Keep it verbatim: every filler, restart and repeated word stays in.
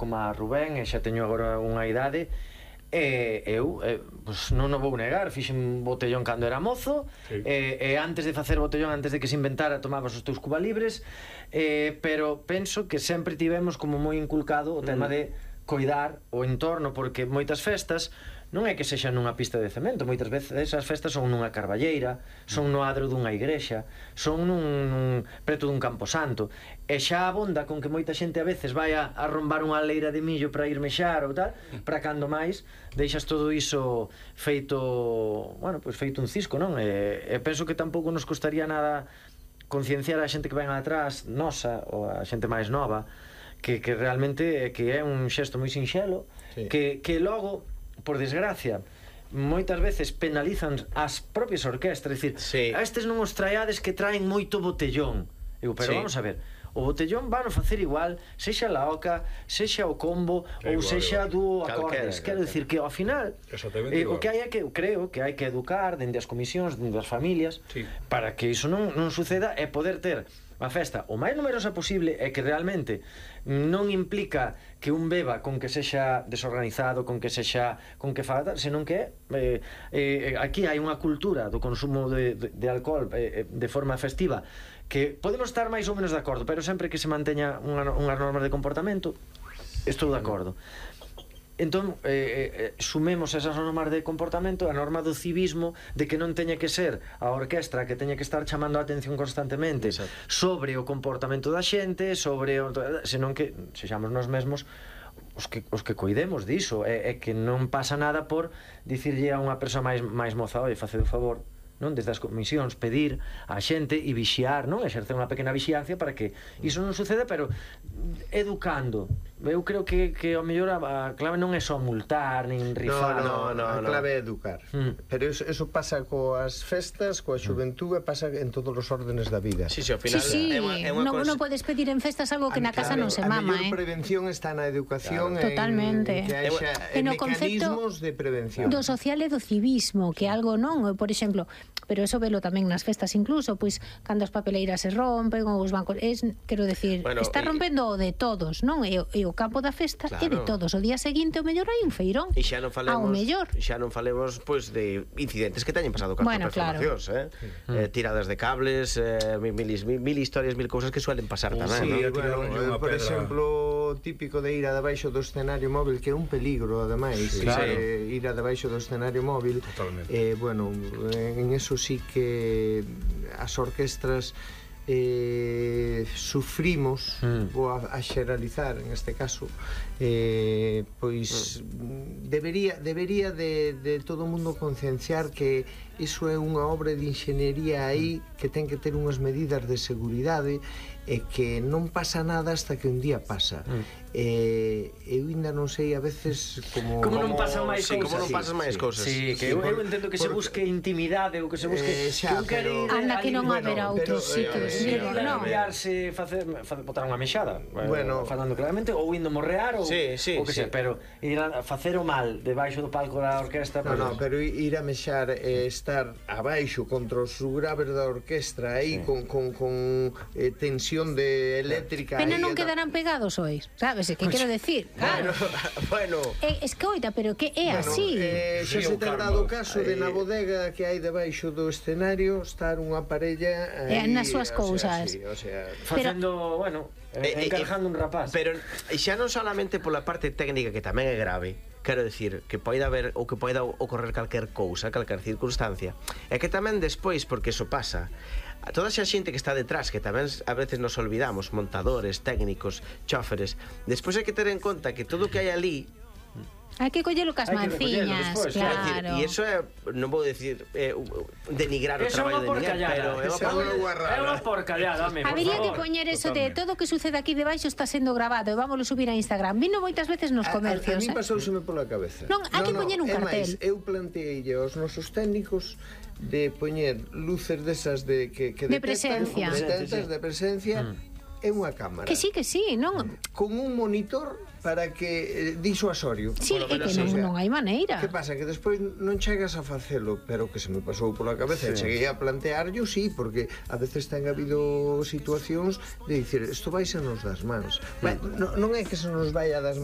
como a Rubén, e xa teño agora unha idade, e eu eh, pues non o vou negar, fixen botellón cando era mozo, sí. e, e antes de facer botellón, antes de que se inventara, tomabas os teus cubalibres, eh, pero penso que sempre tivemos como moi inculcado o tema mm. de coidar o entorno, porque moitas festas non é que sexa nunha pista de cemento, moitas veces as festas son nunha carballeira, son no adro dunha igrexa, son nun, nun preto dun camposanto, e xa abonda con que moita xente a veces vai a, a rombar unha leira de millo para ir mexar ou tal, para cando máis deixas todo iso feito, bueno, pois feito un cisco, non? E, e penso que tampouco nos costaría nada concienciar a xente que ven atrás, nosa, ou a xente máis nova, que, que realmente que é un xesto moi sinxelo, sí. que, que logo, por desgracia, moitas veces penalizan as propias orquestras, dicir, sí. a estes non os traeades que traen moito botellón. Digo, pero sí. vamos a ver, o botellón van a facer igual, sexa la oca, sexa o combo, é ou igual, sexa dúo acordes. Quero dicir que ao final eh, o que hai é que, creo que hai que educar dende as comisións, dende as familias, sí. para que iso non, non suceda e poder ter a festa o máis numerosa posible, e que realmente non implica que un beba con que sexa desorganizado, con que sexa con que faga, senón que eh, eh, aquí hai unha cultura do consumo de, de, de alcohol eh, de forma festiva que podemos estar máis ou menos de acordo, pero sempre que se manteña unha, unhas normas de comportamento, estou de acordo. Entón, eh, eh, sumemos esas normas de comportamento, a norma do civismo, de que non teña que ser a orquestra que teña que estar chamando a atención constantemente Exacto. sobre o comportamento da xente, sobre o, senón que sexamos nós mesmos os que, os que coidemos diso, e, e que non pasa nada por dicirlle a unha persoa máis, máis moza, oi, facede o favor, non, desde as comisións pedir a xente e vixiar, non, exercer unha pequena vixiancia para que iso non suceda, pero educando. Eu creo que, que ao mellor a, a clave non é só multar nin rifar. No, no, no, a clave é educar. Mm. Pero eso, eso pasa coas festas, coa xuventude, pasa en todos os órdenes da vida. Sí, sí, ao final sí, sí. é unha, é unha non, cons... non podes pedir en festas algo que a, na casa claro, non se mama, eh. A mellor prevención está na educación, claro. Totalmente. En que haxa en mecanismos de prevención. Do social e do civismo, que algo non, por exemplo, pero eso velo tamén nas festas incluso, pois cando as papeleiras se rompen ou os bancos, es, quero decir, bueno, está rompendo o de todos, non? E, e o campo da festa claro. é de todos. O día seguinte o mellor hai un feirón. E xa non falemos, xa non falemos pois de incidentes que teñen pasado con bueno, as performacións, claro. eh? Mm. eh tiradas de cables, eh, mil, mil, mil historias, mil cousas que suelen pasar tamén, sí, ¿no? bueno, eh, por exemplo, típico de ir a debaixo do escenario móvil, que é un peligro ademais, sí, claro. eh, ir a debaixo do escenario móvil. Totalmente. Eh, bueno, en eso sí que as orquestras eh, sufrimos mm. vou a, a xeralizar en este caso eh, pois mm. debería, debería de, de todo o mundo concienciar que iso é unha obra de inxeniería aí que ten que ter unhas medidas de seguridade e que non pasa nada hasta que un día pasa. Mm. Eh, eu ainda non sei a veces como como non pasan máis sí, cousas. Como non pasan máis cousas. Sí, que sí, eu, eu entendo que por, se busque intimidade ou que se busque eh, xa, que un quere ir anda que non haberá outros sitios, digo, non. Enviarse, facer, facer botar unha mexada, bueno, falando claramente, ou indo morrear ou sí, sí, o que sí. sea, pero ir a facer o mal debaixo do palco da orquestra, no, no, pero ir a mexar e eh, estar abaixo contra os graves da orquestra aí sí. con, con, con eh, tensión de eléctrica. Pena non quedarán pegados hois, sabes? Que quero decir, claro. Bueno, eh, escoita, pero que é bueno, así. Eh, xa sí, se ten dado o caso de na bodega que hai debaixo do escenario estar unha parella aí, eh, nas súas cousas. Sí, o sea, facendo, bueno, eh, encarjando un rapaz. Pero xa non solamente pola parte técnica, que tamén é grave, quero decir, que poida haber ou que poida ocorrer calquer cousa, calquer circunstancia, é que tamén despois, porque eso pasa, a toda esa xente que está detrás, que tamén a veces nos olvidamos, montadores, técnicos, chóferes, despois hai que ter en conta que todo o que hai ali hai que collelo cas manciñas, claro. E iso é, non vou decir eh, denigrar o traballo de ninguén, pero é unha porcallada, por habería que poñer eso de todo o que sucede aquí debaixo está sendo grabado e vámoslo subir a Instagram. Vino moitas veces nos comercios. A, a, a mí pasouseme pola cabeza. Non, hai que poñer un cartel. Eu planteei aos nosos técnicos de poñer luces desas de que, que de presencia, detectas de presencia é unha cámara. Que sí, que sí, non? Con un monitor para que eh, disuasorio. Sí, é que non, non hai maneira. Que pasa? Que despois non chegas a facelo, pero que se me pasou pola cabeza, sí. Cheguei a plantearlo, sí, porque a veces ten habido situacións de dicir, isto vai se nos das mans. Mm. Non, non é que se nos vai a das mans